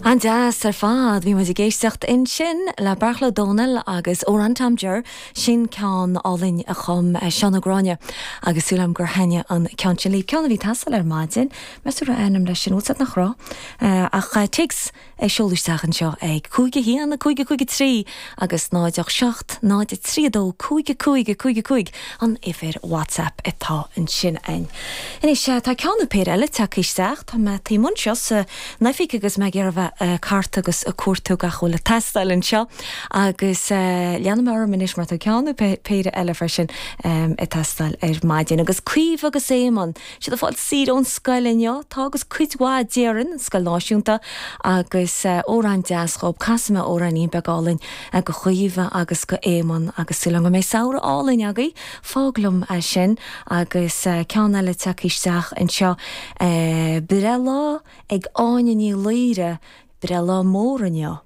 An-deas ar fad. Bhí muid ag éisteacht ansin le Beairtle Ó Domhnaill agus Amhrán Tom Jer, sin ceann álainn a chum Seán Ó Gráinne agus súil agam gur thaitnigh an ceann sin libh. Ceann a bhí ag teastáil ar maidin. Meas tú raibh ainm leis sin? Bhfuil 's agat nach raibh. Ach téacs a seoladh isteach anseo ag 5 1 5 5 3 agus 0 8 7 0 3 2 5 5 5 5 an uimhir WhatsApp atá ansin againn. Anois, tá ceann nó péire eile tagtha isteach. Tá mé taobh amuigh anseo san oifig agus mé ag iarraidh a bheith ag cartadh agus ag cuartú gach a bhfuil ag teastáil anseo agus leanfaidh mé orm anois mar tá ceann nó péire eile freisin ag teastáil ar maidin. Agus Caoimhe agus Éamonn, siad ag fáil saoire ón scoil inniu, tá agus cuid mhaith déarfainn, an scoil náisiúnta, agus amhrán deas dhób. Casfaidh mé amhráinín beag álainn go Chaoimhe agus go Éamonn agus súil agam go mbeidh samhradh álainn agaibh. Fág liom é sin agus ceann eile tagtha isteach anseo, Breithlá ag Áine Ní Laoire, breithlá mór inniu.